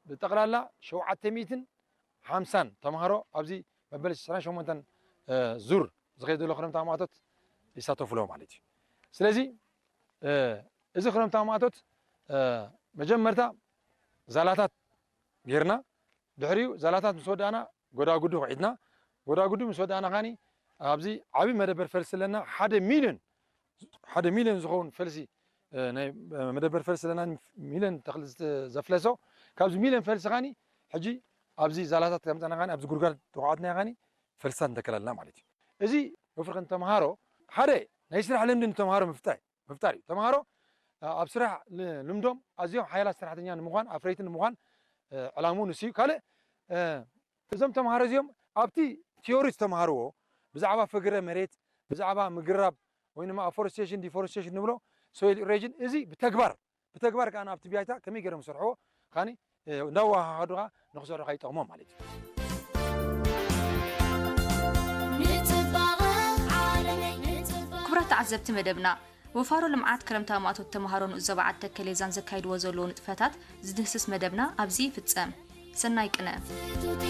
ብጠቕላላ ሸውዓተ ሚእትን ሓምሳን ተምሃሮ ኣብዚ መበል ዕስራን ሸሞንተን ዙር ዝኸይድ ዘሎ ክረምታዊ ማእቶት ይሳተፉ ኣለዉ ማለት እዩ። ስለዚ እዚ ክረምታዊ ማእቶት መጀመርታ ዛላታት ጌርና፣ ድሕሪኡ ዛላታት ምስ ወዳእና ጎዳጉዲ ኩዒትና፣ ጎዳጉዲ ምስ ወዳእና ኻኒ ኣብዚ ዓብዪ መደበር ፈልሲ ኣለና። ሓደ ሚልዮን ሓደ ሚልዮን ዝኸውን ፈልሲ ናይ መደበር ፈልሲ ኣለና። ሚልዮን ተኽሊ ዘፍለሶ፣ ካብዚ ሚልዮን ፈልሲ ኻኒ ሕጂ ኣብዚ ዛላታት ከምፀና ኻኒ ኣብዚ ጉድጓድ ተኳዓትና ኻኒ ፈልስታት ንተክል ኣለና ማለት እዩ። እዚ ወፍሪ ከም ተምሃሮ ሓደ ናይ ስራሕ ልምዲ ንተምሃሮ ምፍጣር ምፍጣር እዩ። ተምሃሮ ኣብ ስራሕ ልምዶም ኣዝዮም ሓያላት ሰራሕተኛ ንምዃን ኣፍረይቲ ንምዃን ዕላምኡ ንሱ እዩ። ካልእ እዞም ተምሃሮ እዚኦም ኣብቲ ቲዮሪ ዝተምሃርዎ ብዛዕባ ፍግረ መሬት፣ ብዛዕባ ምግራብ ወይ ድማ ኣፎረስቴሽን ዲፎረስቴሽን ንብሎ፣ ሶይል ኢሮዥን፣ እዚ ብተግባር ብተግባር ከዓ ኣብቲ ቢያይታ ከመይ ገይሮም ዝሰርሕዎ ኻኒ እንዳወሃሃዱ ከዓ ንክሰርሑ ከዓ ይጠቕሞም ማለት እዩ። ክቡራት ተዓዘብቲ መደብና፣ ወፋሮ ልምዓት ክረምታዊ ማእቶት ተምሃሮ ንኡስ ዞባ ዓዲ ተከሌዛን ዘካይድዎ ዘለዎ ንጥፈታት ዝድህስስ መደብና ኣብዚ ይፍጸም። ሰናይ ቅነ።